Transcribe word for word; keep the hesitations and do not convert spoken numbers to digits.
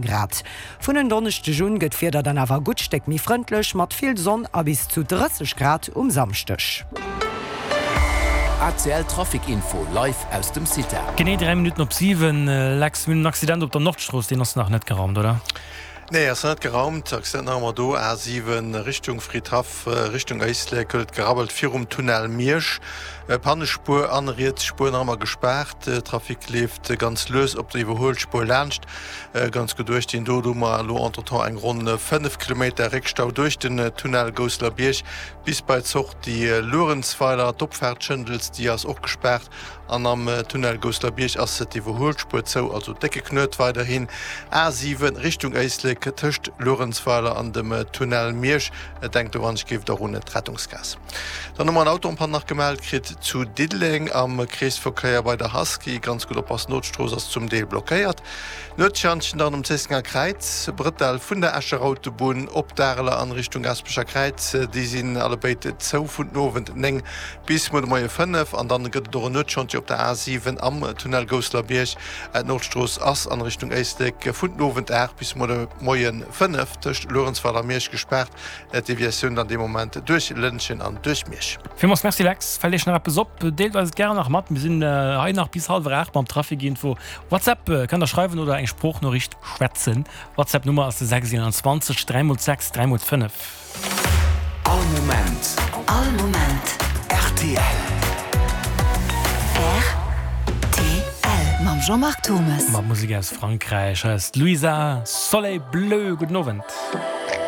Grad. Vun en Donneschdeg un gëtt d'Wieder dann awer e gutt Stéck méi frëndlech, mat vill Sonn a bis zu drësseg Grad um Samschdeg. A C L Trafic Info live aus dem CITA. Genee dräi Minutten op siwen, Lex, mir hunn en Accident op der Nordstrooss, deen ass nach net geraumt, oder? Nee, ass nach net geraumt. Accident nach ëmmer do, A siwen Richtung Fridhaff, Richtung Éislek huet et gerabbelt virum Tunnel Miersch. Pannespuer an riets Spuer nach ëmmer gespaart. Trafic leeft ganz lues op der Iwwerhuelspuer laanscht. Ganz gutt uecht dinn do. Do hu mer elo entretemps eng ronn fënnef Kilometer Réckstau duerch den Tunnel Gousselerbierg bis bei d'Sortie Luerenzweiler. D'Opfaart Schëndels, déi ass och gespaart an am Tunnel Gousselerbierg ass d'Iwwerhuelspuer zou. Also décke Knuet weiderhin A siwen Richtung Éislek tëscht Luerenzweiler an dem Tunnel Miersch. Denkt doran, ech géif der un d'Rettungsgaass. Dann hu mer en Auto en panne nach gemellt kritt zu Diddeleng am Kreesverkéier bei der Husky. Ganz gutt oppassen, d'Strooss ass zum Deel blockéiert. Nuetschantjen dann um Zéissenger Kräiz, Brëttel vun der Escher Autobunn op d'Areler an Richtung Gaasperecher Kräiz, déi sinn allebéid zou vun den Owend néng bis muer de Moie fënnef. An dann gëtt et och en Nuetschantier op der A siwen am Tunnel Gousselerbierg. D'Nordstrooss ass an Richtung Éislek vun den Owend aacht bis muer de Moie fënnef tëscht Luerenzweiler a Miersch gespaart. D'Deviatioun dann dee Moment duerch Lëntgen an duerch Miersch. Villmools Merci Lex. Fält Iech nach eppes op, deelt eis et gären nach mat. Mir sinn hei nach bis hallwer aacht mam Traficinfo. WhatsApp kënnt der schreiwen oder eng Sproochnoriicht schwätzen. WhatsApp Nummer ass de sechs eenanzwanzeg dräi mol sechs dräi mol fënnef. All Moment. All Moment. R T L. R T L mam Jean-Marc Thomes. Mat Musek aus Frankräich. Hei ass d'Luisa, Soleil Bleu. Gudden Owend.